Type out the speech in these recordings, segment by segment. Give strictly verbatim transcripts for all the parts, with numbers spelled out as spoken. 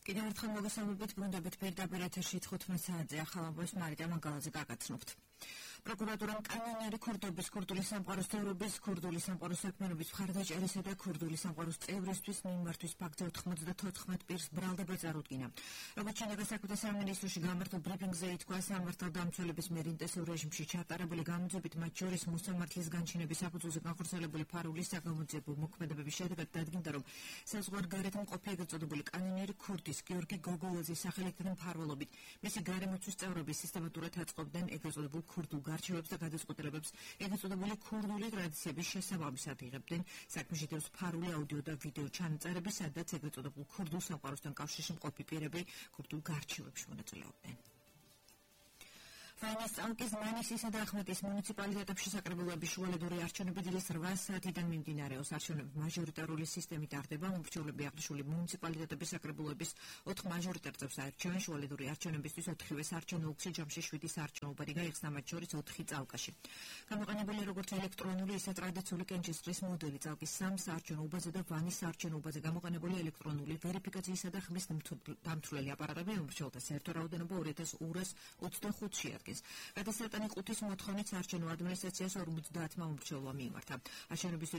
კიდევ ერთხელ მოგესალმებით, ბრუნდებით პირდაპირ ეთერში თხუთმეტ საათზე ახალ ამბავს მარიტა მანგალაძე გაგაცნობთ. პროკურატურამ კანონიერი ქურდობის, ქურდული სამყაროს თეორიის, ქურდული სამყაროს საქმიანობის მხარდაჭერისა და ქურდული სამყაროს წევრისთვის მიმართვის ფაქტზე ოთხმოცდათოთხმეტ პირს ბრალდება წარუდგინა. როგორც შინაგან საქმეთა სამინისტროში გამართულ ბრიფინგზე ითქვა, სამართალდამცველების მიერ ინტენსიურ რეჟიმში ჩატარებული გამოძებით, მათ შორის მოსამართლის განჩინების საფუძველზე განხორციელებული ფარულის საგამოძიებო მოქმედებების შედეგად დადგინდა, რომ საზღვარგარეთ მყოფი ეგრეთ წოდებული კანონიერი ქურდის გიორგი გოგოლაძის სახელით მფარველობით მისი გარემოცვის წევრები სისტემატურად აწყობდნენ ეგრეთ წოდებულ ქურდულ გარჩევებს და გადაწყვეტილებებს ეგრეთ წოდებული ქურდული ტრადიციების შესაბამისად იღებდნენ. საქმეში დევს ფარული აუდიო და ვიდეო ჩანაწერები, სადაც ეგრეთ წოდებულ ქურდულ სამყაროსთან კავშირში მყოფი პირები ქურდულ გარჩევებში მონაწილეობდნენ. ფაინანსალკის მანისისა და ახმეტის მუნიციპალიტეტებში საკრებულოების შუალედური არჩევნები დილის რვა საათიდან მიმდინარეობს. არჩევნები მაჟორიტარული სისტემით ტარდება. მომრჩევლები აღნიშნული მუნიციპალიტეტების საკრებულოების ოთხ მაჟორიტარ წევრს აირჩევენ. შუალედური არჩევნებისთვის ოთხივე საარჩევნო ოლქში ჯამში შვიდი საარჩევნო უბანი გაიხსნა, მათ შორის ოთხი წალკაში. გამოყენებული როგორც ელექტრონული, ისე ტრადიციული კენჭისყრის მოდელი. წალკის სამ საარჩევნო უბანზე და ვანის საარჩევნო უბანზე გამოყენებული ელექტრონული ვერიფიკაციისა და ხმის დამთვლელი აპარატები მომრჩევლთა საერთო რაოდენობა ორი ათას ორას ოცდახუთში შეადგენს. გადასატანი ყუთის მოთხოვნით საარჩევნო ადმინისტრაციას ორმოცდაათმა მომრჩევლმა მიიმართა. არჩევნების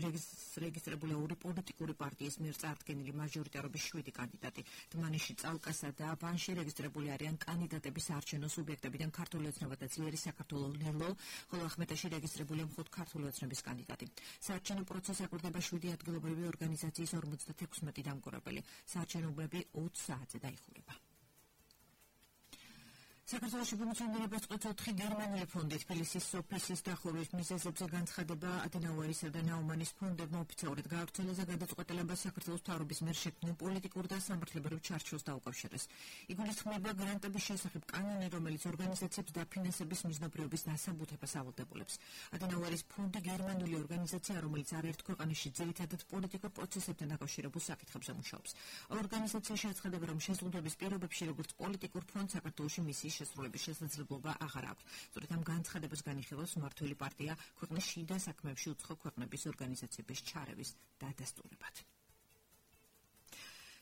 რეგისტრირებული ორი პოლიტიკური პარტიის მიერ წარდგენილი მაჟორიტარობის შვიდი კანდიდატი. დმანისში, წალკასა და ვანში რეგისტრირებული არიან კანდიდატების საარჩევნო სუბიექტებიდან ქართული ოცნება და ძლიერი საქართველო ლელო, ხოლო ახმეტაში რეგისტრირებულია მხოლოდ ქართული ოცნების კანდიდატი. საარჩევნო პროცესს აკვირდება შვიდი ადგილობრივი ორგანიზაციის ორმოცდათექვსმეტი დამკვირვებელი. საარჩევნოები ოც საათზე დაიხურება. საქართველოში ფუნქციონირებას წყვეტს ოთხი გერმანული ფონდი. თბილისის სოფისის დახურვის მიზეზებზე განცხადება ადენაუერისა და ნაუმანის ფონდებმა ოფიციალურად გაავრცელეს და გადაწყვეტილება საქართველოს მთავრობის მიერ შექმნილ პოლიტიკურ და სამართლებრივ ჩარჩოს დაუკავშირეს. იგულისხმება გრანტების შესახებ კანონი, რომელიც ორგანიზაციებს დაფინანსების მიზნობრიობის დასაბუთებას ავალდებულებს. ადენაუერის ფონდი გერმანული ორგანიზაცია, რომელიც არაერთ ქვეყანაში ძირითადად პოლიტიკურ პროცესებთან დაკავშირებულ საკითხებზე მუშაობს. ორგანიზაციაში აცხადება, რომ შეზღუდვების პირობებში, როგორც პოლიტიკურ ფონდს, საქართველოში მისიის შესრულების შესაძლებლობა აღარ აქვს. სწორედ ამ განცხადებას განიხილავს მმართველი პარტია ქვეყნის შიდა საქმეებში უცხო ქვეყნების ორგანიზაციების ჩარევის დადასტურებად.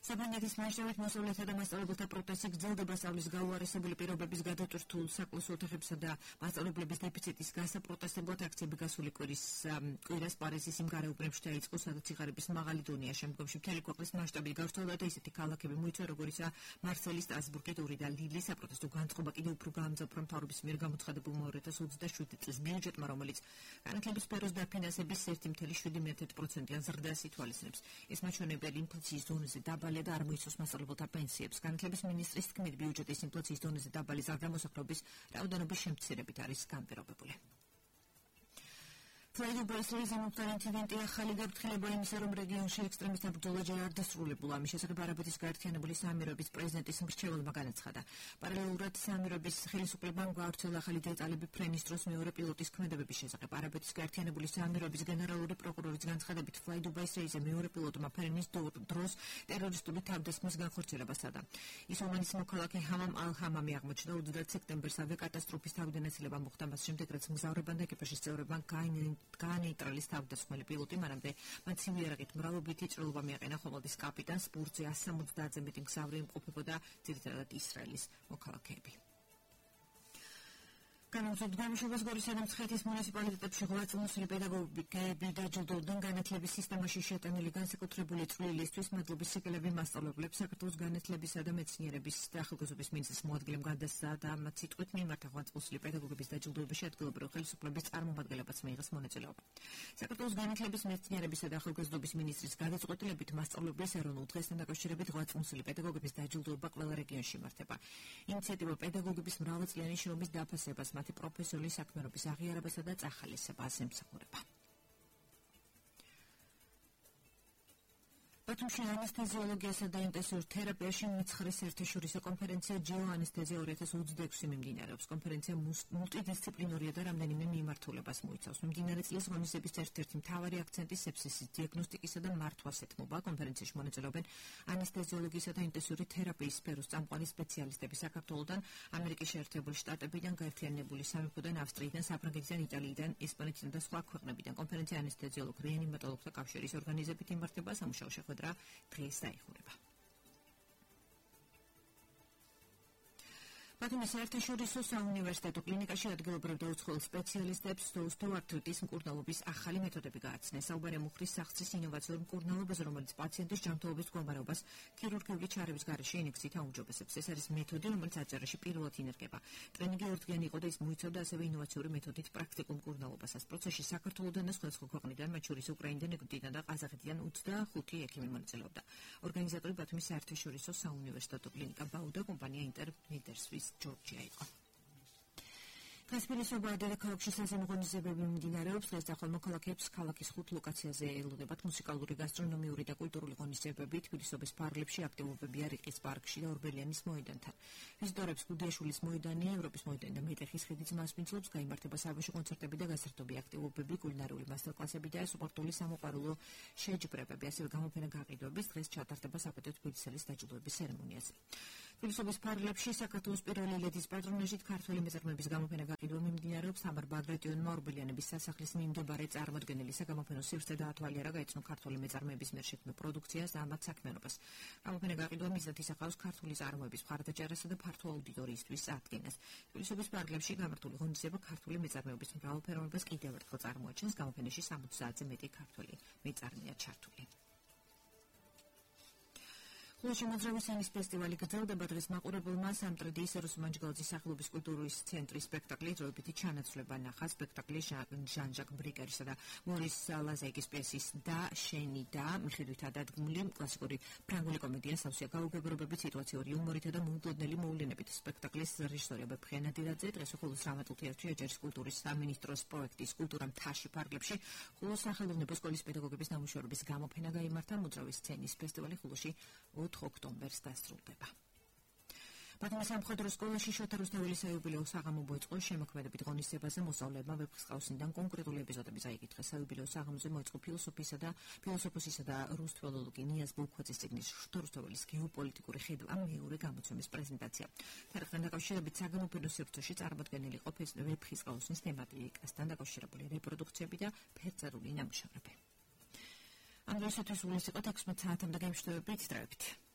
საფრანგეთის მასშტაბით მოსწავლეთა და მასწავლებელთა პროტესტი გრძელდება. სწავლის გაუარესებული პირობების გადატვირთულ საკლასო ოთახებსა და მასწავლებლების დეფიციტის გასაპროტესტებლად აქციები გასული კვირის კვირას პარიზის იმ გარეუბნებში დაიწყო, სადაც სიღარიბის მაღალი დონეა. შემდგომში მთელი ქვეყნის მასშტაბით გავრცელდა და ისეთი ქალაქები მოიცვა, როგორიცაა მარსელი, სტრასბურგი, ტური და ლილი. საპროტესტო განწყობა კიდევ უფრო გაამძაფრა მთავრობის მიერ გამოცხადებულ ორი ათას ოცდაშვიდი წლის ბიუჯეტმა, რომელიც განათლების სფეროს დაფინანსების ერთი წუთი შვიდი პროცენტიან ზრდას ითვალისწინებს. ეს მაჩვენებელი ინფლაციის დონეზე დაბალი და არ მოიცავს მასწავლებელთა პენსიებს. განათლების მინისტრის თქმით, ბიუჯეტის ინფლაციის დონეზე დაბალი ზრდა-მოსახლეობის რაოდენობის შემცირებით არის განპირობებული. ფლაიდუბასრის ამოწმარი ინციდენტი ახალი გაფრთხილება იმისა, რომ რეგიონში ექსტრემისტთა ბრძოლა ჯერ არ დასრულებულა. ამის შესახებ არაბეთის გაერთიანებული საამიროების პრეზიდენტის მრჩეველმა განაცხადა. პარალელურად საამიროების ხელისუფლებამ გაავრცელა ახალი დეტალები ფრენის დროს მეორე პილოტის ქმედებების შესახებ. არაბეთის გაერთიანებული საამიროების გენერალური პროკურორის განცხადებით, ფლაიდუბაის რეისზე მეორე პილოტმა ფრენის დროს ტერორისტული თავდასხმის განხორციელებას სცადა. ის ომანის მოქალაქე ჰამამ ალ-ჰამამი აღმოჩნდა. ოცდაათი სექტემბერს ავიაკატასტროფის თავდანაცვლება მოხდა, მას შემდეგ რაც მგზავრებმა და ეკიპაჟის წევრებმა გაანეიტრალის თავდასხმელი პილოტი, მანამდე მათ ცივი იარაღით მრავლობითი ჭრილობა მიაყენა. ხომალდის კაპიტანს ბურთზე ას სამოცდაათზე მეტი მგზავრი იმყოფებოდა, ძირითადად ისრაელის მოქალაქეები. განაცხადეთ გამშვებას გორისა და მცხეთის მუნიციპალიტეტებში ღვაწლმოსილი პედაგოგები დაჯილდოვდნენ განათლების სისტემაში შეტანილი განსაკუთრებული წვლილისთვის. მადლობის სიგელები მასწავლებლებს, საქართველოს განათლებისა და მეცნიერების და ახალგაზრდობის მინისტრის მოადგილემ გადასცა და მათ სიტყვით მიმართა ღვაწლმოსილი პედაგოგების დაჯილდოებაში ადგილობრივი ხელისუფლების წარმომადგენლებაც მიიღეს მონაწილეობა. საქართველოს განათლების, მეცნიერებისა და ახალგაზრდობის მინისტრის გადაწყვეტილებით მასწავლებლის ეროვნულ დღესთან დაკავშირებით ღვაწლმოსილი პედაგოგების დაჯილდოება ყველა რეგიონში იმართება. ინიციატივა პედაგოგების მრავალწლიანი შრომის დაფასებას, მათი პროფესიული საქმიანობის აღიარებასა და წახალისებას ემსახურება. ბათუმში ანესთეზიოლოგიასა და ინტენსიურ თერაპიაში მეცხრე საერთაშორისო კონფერენცია ჯეოანესთეზია ორი ათას ოცდაექვსი მიმდინარეობს. კონფერენცია მულტიდისციპლინარია და რამდენიმე მიმართულებას მოიცავს. მიმდინარე წლის ღონისძიების ერთ-ერთი მთავარი აქცენტი სეფსისის დიაგნოსტიკისა და მართვას ეთმობა. კონფერენციაში მონაწილეობენ ანესთეზიოლოგიისა და ინტენსიური თერაპიის სფეროს წამყვანი სპეციალისტები საქართველოდან, ამერიკის შეერთებული შტატებიდან, გაერთიანებული სამეფოდან, ავსტრიიდან, საფრანგეთიდან, იტალიიდან, ესპანეთიდან და სხვა ქვეყნებიდან. კონფერენცია ანესთეზიოლოგ-რეანიმატოლოგთა კავშირის ორგანიზებით იმართება. სამუშაო შეხვედრა დღეს დაიხურება. ბათუმის საერთაშორისო საუნივერსიტეტო კლინიკაში ადგილობრივ და უცხოელ სპეციალისტებს ოსტეოართრიტის მკურნალობის ახალი მეთოდები გააცნეს. საუბარია მუხლის სახსრის ინოვაციურ მკურნალობაზე, რომელიც პაციენტის ჯანმრთელობის მდგომარეობას ქირურგიული ჩარევის გარეშე ინექციით აუმჯობესებს. ეს არის მეთოდი, რომელიც აჭარაში პირველად ინერგება. ტრენინგი ორთგიანი იყო და ის მოიცავდა ასევე ინოვაციური მეთოდით პრაქტიკულ მკურნალობასაც. პროცესში საქართველოდან და სხვადასხვა ქვეყნიდან, მათ შორის უკრაინიდან, ეგვიპტიდან და ყაზახეთიდან ოცდახუთი ექიმი მონაწილეობდა. ორგანიზატორი ბათუმის საერთაშორისო საუნივერსიტეტო კლინიკა ბაუდა, კომპანია ინტერმედერსვის ჯორჯია იყო. დღეს ფილოსოფია დედაქალაქში საზემო ღონისძიებები მიმდინარეობს. დღეს ახალ მოქალაქეებს ქალაქის ხუთ ლოკაციაზე ელოდებათ მუსიკალური, გასტრონომიური და კულტურული ღონისძიებები. თბილისის პარლებში აქტივობებია რიყის პარკში და ორბელიანის მოედანთან. ვიზიტორებს გუდიაშვილის მოედანი, ევროპის მოედანი და მეტეხის ხიდის მასპინძლობს. გაიმართება საბავშვო კონცერტები და გასართობი აქტივობები, კულინარიული მასტერკლასები და სპორტული სამოყვარულო შეჯიბრებები. ასევე გამოფენა გაყიდვების. დღეს ჩატარდება საპატიო თბილისელის დაჯილდოების ცერემონიაზე. თბილისის პარლებში საქართველოს პირველი ლედის პატრონაჟით ქართველი მეწარმეების გამოფენა გაყიდვა მიმდინარეობს. თამარ ბაგრატიონმა ორბელიანების სასახლის მიმდებარე წარმოდგენილი საგამოფენო სივრცე დაათვალიერა, გაეცნო ქართველი მეწარმეების მიერ შექმნილ პროდუქციას და ამათ საქმიანობას. გამოფენა გაყიდვა მიზნად ისახავს ქართული წარმოების მხარდაჭერასა და ფართო აუდიტორიისთვის წარდგენას. თბილისის პარლებში გამართული ღონისძიება ქართული მეწარმეობის მრავალფეროვნებას კიდევ ერთხელ წარმოაჩენს. გამოფენაში სამოცდაათზე მეტი ქართველი მეწარმეა ჩართული. ხულოში მოძრავი სენის ფესტივალი გრძელდება. დღეს მაყურებელმა სამტრედიის ეროსმანჯგალაძის სახელობის კულტურის ცენტრის სპექტაკლი დროებითი ჩანაცვლება ნახა. სპექტაკლი ჟან-ჟაკ ბრიკერისა და მორის ლაზაიკის პიესის და შენი და მიხედვითაა დადგმული. კლასიკური ფრანგული კომედია სავსეა გაუგებრობებით, სიტუაციური იუმორითა და მოულოდნელი მოვლენებით. სპექტაკლის რეჟისორია ბებხე ნადირაძე. დღეს ხულოს დრამატულ თეატრში აჯარის კულტურის სამინისტროს პროექტის კულტურა მთაში პარკლებში ხულოს სახელოვნებო სკოლის პედაგოგების ნამუშევრების გამოფენა გაიმართა. მოძრავი სცენის ფესტივალი ხულოში ოთხ ოქტომბერს დასრულდება. ბათუმის სამხედრო სკოლაში შოთა რუსთაველის საიუბილეო საღამო მოეწყო. შემოქმედებით ღონისძიებაზე მოსწავლეებმა ვეფხისტყაოსნიდან კონკრეტული ეპიზოდები წაიკითხეს. საიუბილეო საღამოზე მოეწყო ფილოსოფიისა და ფილოსოფოსისა და რუსთველოლოგი ნიაზ ბულქვაძის წიგნის შოთა რუსთაველის გეოპოლიტიკური ხედვა მეორე გამოცემის პრეზენტაცია. თარიღთან დაკავშირებით საგამოფენო სივრცეში წარმოდგენილი იყო ვეფხისტყაოსნის თემატიკასთან დაკავშირებული რეპროდუქციები და ფერწერული ნამუშევრები. ამ დღეისათვის სულ ეს იყო თექვსმეტ საათამდე გემშვიდობებით.